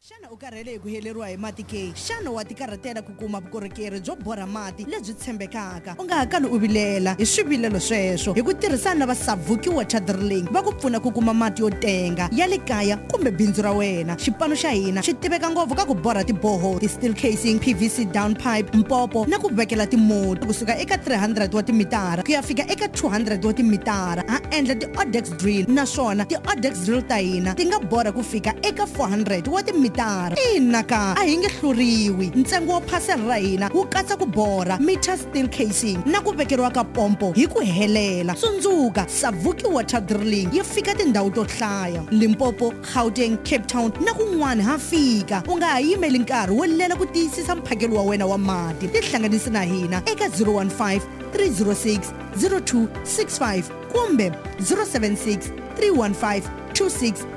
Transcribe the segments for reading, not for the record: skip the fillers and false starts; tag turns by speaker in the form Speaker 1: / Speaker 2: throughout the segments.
Speaker 1: Xana u karhele hi ku heleriwa hi mati ke? Xana wa tikarhatela ku kuma vukorhokeri byo borha mati lebyi tshembekaka? U nga ha kali u vilela hi swivilelo sweswo. Hi ku tirhisana na va Savuki Water Drilling va ku pfuna ku kuma mati yo tenga ya le kaya kumbe bindzu ra wena. Xipano xa hina xi tiveka ngopfu ka ku borha tiboho, ti-steel casing, PVC down pipe, mpopo na ku vekela timoti kusuka eka 300 wa timitara ku ya fika eka 200 wa timitara. Ha endla ti-odex drill naswona ti-odex drill ta hina ti nga borha ku fika eka 400 wa timitara. Ina ka, a hi nge hluriwi. Ntsengo wa phasela ra hina wu katsa ku borha, meter steel casing na ku vekeriwa ka pompo hi ku helela. Tsundzuka, Savuki Water Drilling yi fika tindhawu to hlaya, Limpopo, Gauteng, Cape Town na kun'wana ha fika. U nga ha yimeli nkarhi wo lela ku tiyisisa mphakelo wa wena wa mati. Tihlanganisi na hina eka 015 306 0265 kumbe 076 315 2680.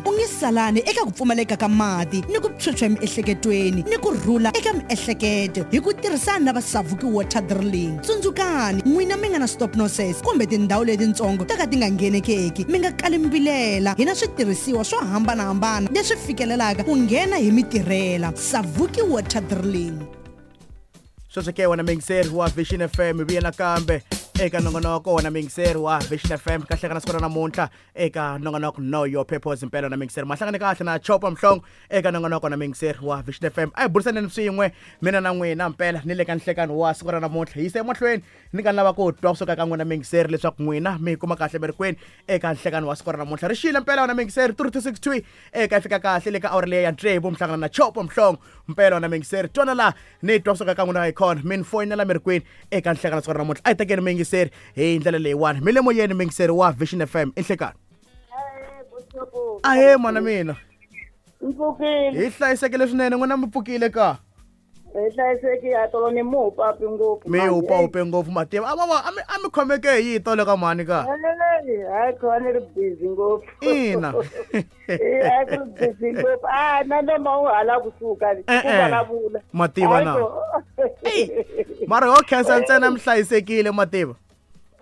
Speaker 1: U nge salani eka ku pfumaleka ka mati ni ku phyuphya emiehleketweni ni ku rhula eka miehleketo hi ku tirhisana na va Savuki Water Drilling. Tsundzukani, n'wina mi nga na stop nonsense kumbe tindhawu letitsongo to ka ti nga nghenekeki, mi nga kali mi vilela. Hi na switirhisiwa swo hambanahambana leswi fikelelaka ku nghena hi mitirhela. Savuki Water Drilling.
Speaker 2: Sweswo ke wena muyingiseri wa Vision FM, hi vuye nakambe eka nongonoko wena muyingiseri wa Vision FM. Kahleka na siku ra namuntlha eka nongonoko Know Your Purpose. Mpela na muyingiseri mahlangane kahle na Chopa Mhlongo eka nongonoko na muyingiseri wa Vision FM. A hi burisaneni swin'we mina na n'wina mpela ni le ka nhlekani wa siku ra namuntlha. Hi yise emahlweni ni nga lava ku twa kusuka ka n'wina muyingiseri leswaku n'wina mi kuma kahle mi ri kwini eka nhlekani wa siku ra namuntlha. Ri xile mpela wena muyingiseri 3262 eka yi fika kahle le ka awara leyi ya tsevu mi hlangana na Chopa Mhlongo. Mpela wena muyingiseri twana laha ni twa kusuka ka n'wina hi khona mi ni foyinela mi ri kwini eka nhlekani siku ra namuntlha. A hi tekeni muyingiseri hi ndlela leyiwani. Mi le moyeni muyingiseri wa Vision FM, i nhlekani. Ahee mwana mina.
Speaker 3: Mpfukile.
Speaker 2: Hi hlayisekile swinene, n'wina mi pfukile ka?
Speaker 3: Hi hlayisekile, a tolo ni muhupapi ngopfu.
Speaker 2: Mi hupahupe ngopfu mativa. A va a mi khomeke hi yi tolo ka mhani ka?
Speaker 3: Hayi kho ni ri busy ngopfu.
Speaker 2: Ina.
Speaker 3: Hayi ku ri busy ngopfu. A na noma u hala kusuka ku vulavula.
Speaker 2: Mativa na. Mara ho khensa ntsena mi hlayisekile mativa.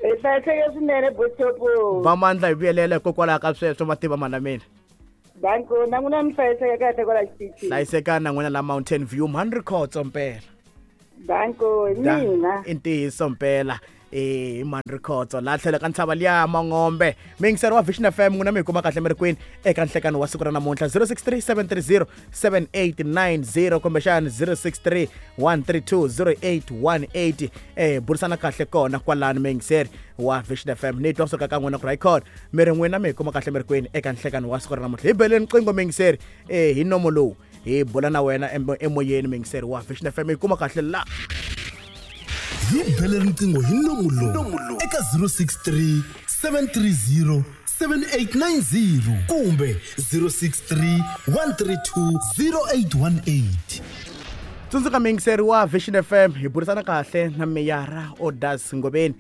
Speaker 3: Hi hlayiseke swinene botopo.
Speaker 2: Va mandla hi vuyelela hikokwalaho ka sweswo mativa mana mina.
Speaker 3: Danko na n'wina mi hlayiseke kahle kwala xitichini.
Speaker 2: Hlayisekani na n'wina la Mountain View mhani Rikhotso mpela.
Speaker 3: Danko hi mina.
Speaker 2: I ntiyiso mpela. I mhani Rikhotso laha tlhelo ka ntshava liya Mangombe. Muyingiseri wa Vision FM n'wina mi hi kuma kahle mi ri kwini eka nhlekani wa siku ra namuntlha 063 730 7890 kumbexani 063 132 0818. Burisana kahle kona kwalani muyingiseri wa Vision FM. Ni twa kusuka ka n'wina ku ri hayikhona mi ri n'wina mi hi kuma kahle mi ri kwini eka nhlekani wa siku ra namuntlha. Hi beleni riqingho muyingiseri hi nomo lowu hi bula na wena emoyeni muyingiseri wa Vision FM. Hi kuma kahle la.
Speaker 4: Hi bele riqingho hi nomu lowu eka 063 730 7890 kumbe 063 132 0818.
Speaker 2: Tsundzuka muyingiseri wa Vision FM, hi burisana kahle na meyara Odas Ngobeni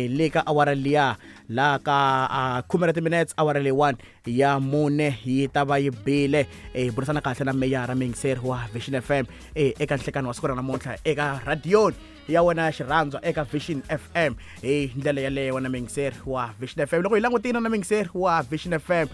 Speaker 2: le ka awara liya laha ka khume ra timinutes awara leyiwani ya mune yi ta va yi bile. Hi burisana kahle na meyara muyingiseri wa Vision FM eka nhlekani wa siku ra namuntlha eka radioni ya wena ya xirhandzwa eka Vision FM. Hi ndlela yaleyo wena muyingiseri wa Vision FM. Loko hi langutile na muyingiseri wa Vision FM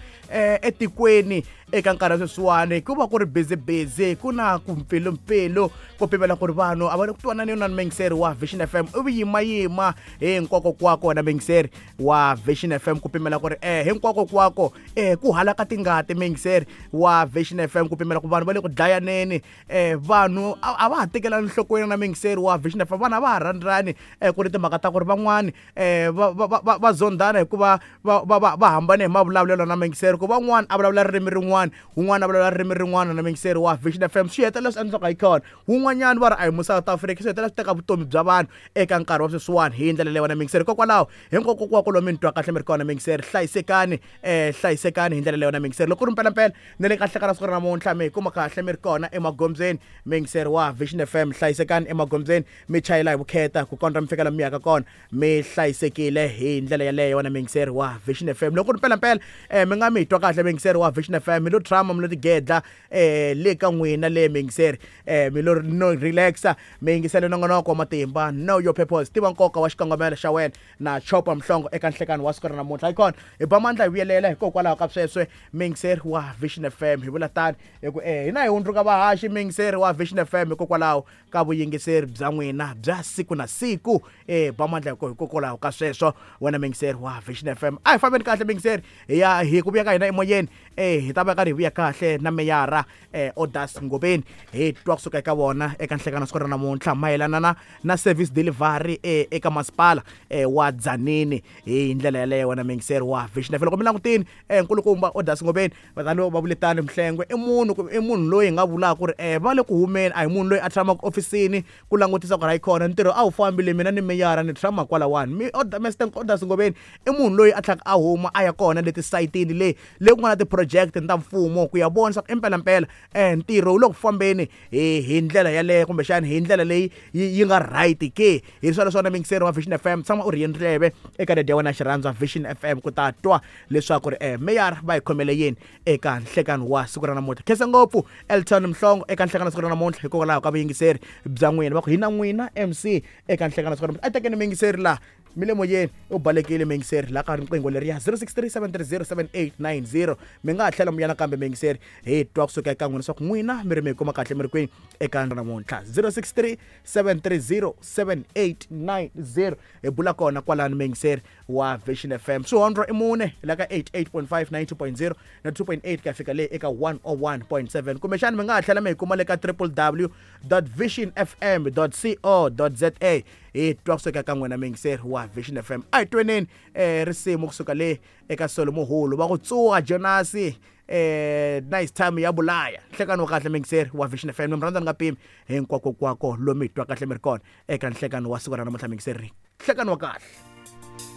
Speaker 2: etikweni eka nkarhi wa sweswiwani ku va ku ri busy busy, ku na ku mpfilumpfilu ku pimela ku ri vanhu a va le ku twanani na muyingiseri wa Vision FM. I vuyimayima hinkwakokwako wena muyingiseri wa Vision FM ku pimela ku ri hinkwakokwako ku halaka tingati muyingiseri wa Vision FM ku pimela ku vanhu va le ku dlayaneni. Vanhu a va ha tekelani nhlokweni na muyingiseri wa Vision FM. Vanhu a va ha rhandzani ku ri timhaka ta ku ri van'wani va zondhana hikuva va hambane hi mavulavulelo na muyingiseri, ku van'wani a vulavula ririmi rin'wana, wun'wana a vulavula ririmi rin'wana na muyingiseri wa Vision FM. Swi hetelela swi endliwaka hi khona wun'wanyana va ri a hi mu South Africa, swi hetelela swi teka vutomi bya vanhu eka nkarhi wa sweswiwani hi ndlela leyi wena muyingiseri. Hikokwalaho hinkwakokwako lomu mi ni twa kahle mi ri kona muyingiseri, hlayisekani hlayisekani hi ndlela leyi wena muyingiseri. Loko ku ri mpelampela ni le ka nhlekani wa siku ra namuntlha mi kuma kahle mi ri kona emagondzweni muyingiseri wa Vision FM, hlayisekani emagondzweni mi chayela hi vukheta ku kondza mi fika laha mi yaka kona mi hlayisekile hi ndlela yaleyo wena muyingiseri wa Vision FM. Loko ku ri mpelampela mi nga mi twa kahle muyingiseri wa Vision FM, mi lo tshama mi lo tigedla le ka n'wina le muyingiseri mi lo no relaxa mi yingisele nongonoko wa matimba Know Your Purpose. Tiva nkoka wa xikongomelo xa wena na Chopa Mhlongo eka nhlekani. nhlekani wa siku ra namuntlha. Icon hi ba mandla hi vuyelela hikokwalaho ka sweswe muyingiseri wa Vision FM. Hi vula tani hi ku hina hi hundzuka vahaxi muyingiseri wa Vision FM hikokwalaho ka vuyingiseri bya n'wina bya siku na siku. Ba mandla hikokwalaho ka sweswo wena muyingiseri wa Vision FM. A hi fambeni kahle muyingiseri, hi ya hi ku vuya ka hina emoyeni. Hi ta va karhi hi vuya kahle na meyara Odas Ngobeni, hi twa kusuka eka vona eka nhlekano siku ra namuntlha mayelana na service delivery eka masipala wa Tzaneen hi ndlela yaleyo wena muyingiseri wa Vision FM. Loko mi langutini nkulukumba Odas Ngobeni vatani va vule tani Mhlengwe i munhu loyi hi nga vulaka ku ri va le ku humeni, a hi munhu loyi a tshamaka ofisini ku langutisa ku ri hayi khona ntirho a wu fambile, mina ni meyara ni tshama kwalawani. Mr Odas Ngobeni i munhu loyi a tlhaka a huma a ya kona leti sayitini leyi le ku nga na ti-project ta mfumo ku ya vona swa ku impelampela ntirho wu le ku fambeni hi ndlela yaleyo kumbexani hi ndlela leyi yi nga right ke. Hi swona swona muyingiseri wa Vision FM, tshama u ri ndleve eka radio ya wena xirhandza Vision FM ku ta twa leswaku ri meyara va hi khomele yini eka nhlekano wa siku ra namuntlha. Khensa ngopfu Elton Mhlongo eka nhlekano siku ra namuntlha hikokwalaho ka vuyingiseri bya n'wina. Va ku hi na n'wina MC eka nhlekano siku ra namuntlha. A tekeni muyingiseri laha mi le moyeni u balekile muyingiseri laha ka riqingho leriya 0637307890. Mi nga ha tlhela mi ya nakambe muyingiseri hi twa kusuka eka n'wina leswaku n'wina mi ri mi hi kuma kahle mi ri kwini eka namuntlha. 0637307890 hi bula kona kwalani muyingiseri wa Vision FM. Swihondlo i mune la ka 88.5, 90.0 na 2.8 ka fika le eka 101.7. Kumbexani mi nga ha tlhela mi hi kuma le ka www.visionfm.co.za hi twa kusuka ka n'wina muyingiseri wa Vision FM. A hi tweneni risimu kusuka le eka Solo Muhulu va ku tsuwa Jonasi nice time ya bulaya. Nhlekano wa kahle muyingiseri wa Vision FM, mi rhandza ni nga pimi hinkwakokwako lomu hi twa kahle mi ri kona eka nhlekano wa siku ra namuntlha muyingiseri. Nhlekano wa kahle.